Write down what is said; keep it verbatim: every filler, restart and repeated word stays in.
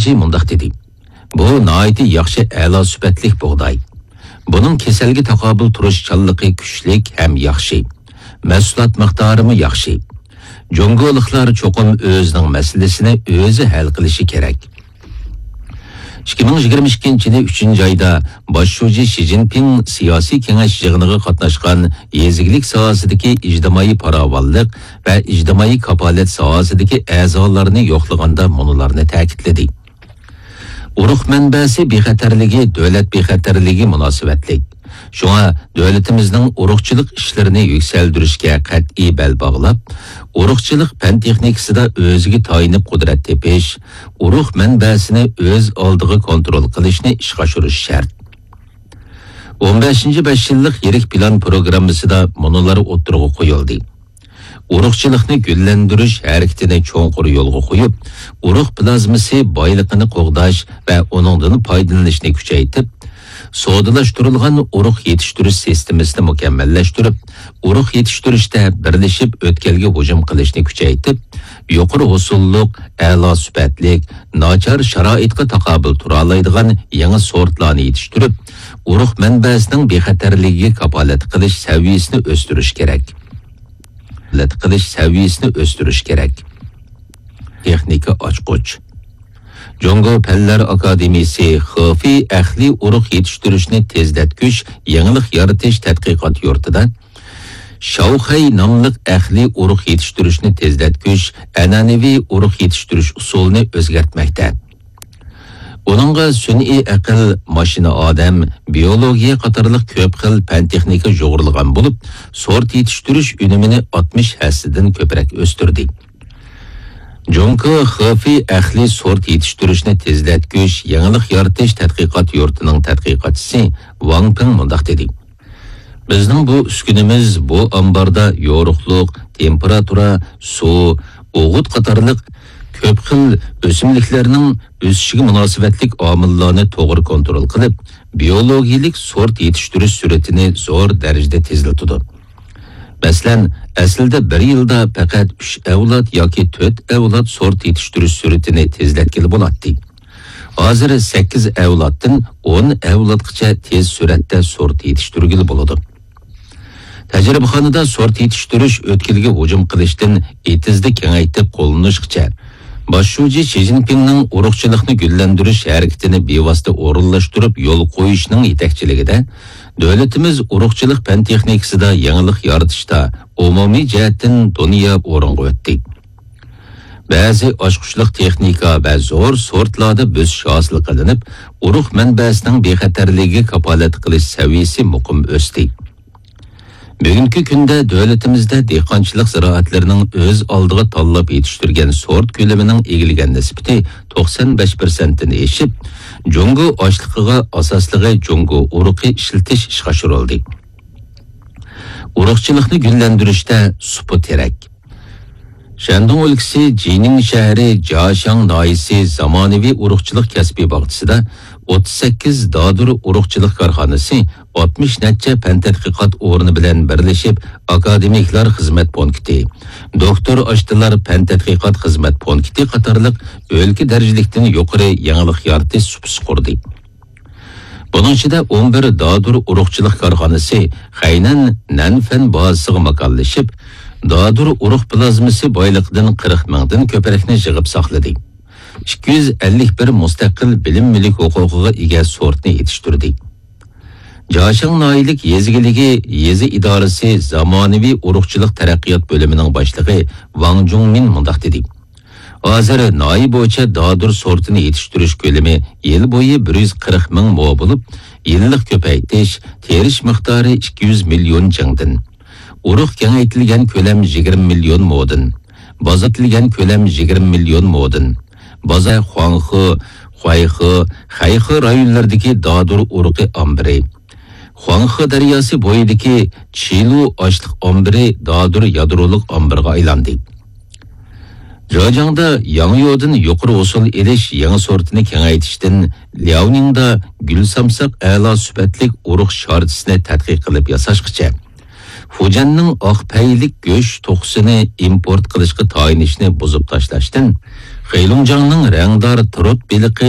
جى مۇنداق دېدى: بۇ ناھايىتى ياخشى، ئەلا سۈپەتلىك بۇغداي. بۇنىڭ كېسەلگە تاقابىل تۇرۇشچانلىقى كۈچلۈك ھەم ياخشى. مەھسۇلات مىقدارىمۇ ياخشى. جۇڭگولۇقلار چوقۇم ئۆزىنىڭ مەسىلىسىنى ئۆزى ھەل قىلىشى كېرەك. ئىككى مىڭ يىگىرمە ئىككىنچى يىلى ئۈچىنچى ئايدا باش شۇجى شى جىنپىڭ سىياسىي كېڭەش يىغىنىغا قاتناشقان يېزا ئىگىلىك ساھەسىدىكى ئىجتىمائىي پاراۋانلىق ۋە ئىجتىمائىي كاپالەت ساھەسىدىكى ئەزالارنى يوقلىغاندا مۇنۇلارنى تەكىتلىدى: ئۇرۇق مەنبەسى بىخەتەرلىكى دۆلەت بىخەتەرلىكىگە مۇناسىۋەتلىك. شۇڭا دۆلىتىمىزنىڭ ئۇرۇقچىلىق ئىشلىرىنى يۈكسەلدۈرۈشكە قەتئىي بەل باغلاپ، ئۇرۇقچىلىق پەن تېخنىكىسىدا ئۆزىگە تايىنىپ قۇدرەت تېپىش، ئۇرۇق مەنبەسىنى ئۆز ئالدىغا كونترول قىلىشنى ئىشقا ئاشۇرۇش شەرت. ئون بەشىنچى بەش يىللىق يىرىك پىلان پروگراممىسىدا مۇنۇلار ئوتتۇرىغا قويۇلدى: ئۇرۇقچىلىقنى گۈللەندۈرۈش ھەرىكىتىنى چوڭقۇر يولغا قويۇپ، ئۇرۇق پلازمىسى بايلىقىنى قوغداش ۋە ئۇنىڭدىن پايدىلىنىشنى كۈچەيتىپ، سودىلاشتۇرۇلغان ئۇرۇق يېتىشتۈرۈش سىستېمىسىنى مۇكەممەللەشتۈرۈپ، ئۇرۇق يېتىشتۈرۈشتە بىرلىشىپ ئۆتكەلگە ھۇجۇم قىلىشنى كۈچەيتىپ، يۇقىرى ھوسۇللۇق، ئەلا سۈپەتلىك، ناچار شارائىتقا تاقابىل تۇرالايدىغان يېڭى سورتلارنى يېتىشتۈرۈپ، ئۇرۇق مەنبەسىنىڭ بىخەتەرلىكىگە كاپالەت قىلىش سەۋىيەسىنى ئۆستۈرۈش كېرەك. كاپالەت قىلىش سەۋىيەسىنى ئۆستۈرۈش كېرەك. تېخنىكا ئاچقۇچ. جۇڭگو پەنلەر ئاكادېمىيىسى خېفېي ئەقلىي ئۇرۇق يېتىشتۈرۈشنى تېزلەتكۈچ يېڭىلىق يارىتىش تەتقىقات يۇرتىدا شاۋخەي ناملىق ئەقلىي ئۇرۇق يېتىشتۈرۈشنى تېزلەتكۈچ ئەنئەنىۋى ئۇرۇق يېتىشتۈرۈش ئۇسۇلىنى ئۆزگەرتمەكتە. ئۇنىڭغا سۈنئىي ئەقىل، ماشىنا ئادەم، بىيولوگىيە قاتارلىق كۆپ خىل پەن تېخنىكا يۇغۇرۇلغان بولۇپ، سورت يېتىشتۈرۈش ئۈنۈمىنى ئاتمىش ھەسسىدىن كۆپرەك ئۆستۈردى. جۇڭكو خېفېي ئەقلىي سورت يېتىشتۈرۈشنى تېزلەتكۈچ يېڭىلىق يارىتىش تەتقىقات يۇرتىنىڭ تەتقىقاتچىسى ۋاڭ پىڭ مۇنداق دېدى: بىزنىڭ بۇ ئۈسكۈنىمىز بۇ ئامباردا يورۇقلۇق، تېمپېراتۇرا، سۇ، ئوغۇت قاتارلىق كۆپ خىل ئۆسۈملۈكلەرنىڭ ئۆسۈشىگە مۇناسىۋەتلىك ئامىللارنى توغرا كونترول قىلىپ، بىيولوگىيەلىك سورت يېتىشتۈرۈش سۈرئىتىنى زور دەرىجىدە تېزلىتىدۇ. مەسىلەن، ئەسلىدە بىر يىلدا پەقەت ئۈچ ئەۋلاد ياكى تۆت ئەۋلاد سورت يېتىشتۈرۈش سۈرئىتىنى تېزلەتكىلى بولاتتى. ھازىر سەككىز ئەۋلادتىن ئون ئەۋلادقىچە تېز سۈرئەتتە سورت يېتىشتۈرگىلى بولىدۇ. تەجرىبىخانىدا سورت يېتىشتۈرۈش ئۆتكىلىگە ھۇجۇم قىلىشتىن ئېتىزدا كېڭەيتىپ قوللىنىشقىچە، باش شۇجى شى جىنپىڭنىڭ ئۇرۇقچىلىقنى گۈللەندۈرۈش ھەرىكىتىنى بىۋاسىتە ئورۇنلاشتۇرۇپ يول قويۇشنىڭ يېتەكچىلىكىدە، دۆلىتىمىز ئۇرۇقچىلىق پەن تېخنىكىسىدا يېڭىلىق يارىتىشتا ئومۇمىي جەھەتتىن دۇنيا ئورۇنغا ئۆتتى. بەزى ئاچقۇچلۇق تېخنىكا ۋە زور سورتلاردا بۆسۈش ھاسىل قىلىنىپ، ئۇرۇق مەنبەسىنىڭ بىخەتەرلىكىگە كاپالەت قىلىش سەۋىيەسى مۇقىم ئۆستى. بۈگۈنكى كۈندە دۆلىتىمىزدە دېھقانچىلىق زىرائەتلىرىنىڭ ئۆز ئالدىغا تاللاپ يېتىشتۈرگەن سورت كۆلىمىنىڭ ئىگىلىگەن نىسبىتى توقسان بەش پىرسەنتتىن ئېشىپ، جۇڭگو ئاشلىقىغا ئاساسلىقى جۇڭگو ئۇرۇقى ئىشلىتىش ئىشقا ئاشۇرۇلدى. ئۇرۇقچىلىقنى گۈللەندۈرۈشتە سۇپا تېرەك. شەندۇڭ ئۆلكىسى جىنىڭ شەھىرى جاشاڭ ناھىيەسى زامانىۋى ئۇرۇقچىلىق كەسپىي باغچىسىدا ئوتتۇز سەككىز دادۇر ئۇرۇقچىلىق كارخانىسى، ئاتمىش نەچچە پەن تەتقىقات ئورنى بىلەن بىرلىشىپ، ئاكادېمىكلار خىزمەت پونكىتى، دوكتور ئاشتىلار پەن تەتقىقات خىزمەت پونكىتى قاتارلىق ئۆلكە دەرىجىلىكتىن يۇقىرى يېڭىلىق يارىتىش سۇپىسى قۇردى. بۇنىڭ ئىچىدە ئون بىر دادۇر ئۇرۇقچىلىق كارخانىسى خەينەن نەنفەن بازىسىغا ماكانلىشىپ، دادۇر ئۇرۇق پلازمىسى بايلىقىدىن قىرىق مىڭدىن كۆپرەكنى يىغىپ ساقلىدى. ئىككى يۈز ئەللىك بىر مۇستەقىل بىلىم مۈلۈك ھوقۇقىغا ئىگە سورتنى يېتىشتۈردى. جاشاڭ ناھىيەلىك يېزا ئىگىلىكى يېزا ئىدارىسى زامانىۋى ئۇرۇقچىلىق تەرەققىيات بۆلۈمىنىڭ باشلىقى ۋاڭ جۇڭمىن مۇنداق دېدى: ھازىر ناھىيە بويىچە دادۇر سورتىنى يېتىشتۈرۈش كۆلىمى يىل بويى بىر يۈز قىرىق مىڭ مو بولۇپ، يىللىق كۆپەيتىش، تېرىش مىقدارى ئىككى يۈز مىليون جىڭدىن، ئۇرۇق كېڭەيتىلگەن كۆلەم يىگىرمە مىليون مودىن، بازار ئېتىلگەن كۆلەم يىگىرمە مىليون مودىن، بازار خۇاڭخې، خۇەيخې، خەيخې رايونلىرىدىكى دادۇر ئۇرۇقى ئامبىرى، خۇاڭخې دەرياسى بويىدىكى چىلۇ ئاشلىق ئامبىرى دادۇر يادرولۇق ئامبىرىغا ئايلاندى. جاجاڭدا ياڭيودىن يۇقىرى ھوسۇل ئېلىش يېڭى سورتىنى كېڭەيتىشتىن لياۋنىڭدا گۈل سامساق ئەلا سۈپەتلىك ئۇرۇق شارچىسىنى تەتقىق قىلىپ ياساشقىچە، فۇجيەننىڭ ئاق پەيلىك گۆش توخۇسىنى ئىمپورت قىلىشقا تايىنىشنى بۇزۇپ تاشلاشتىن، خېيلۇڭجاڭنىڭ رەڭدار تۇرۇت بېلىقى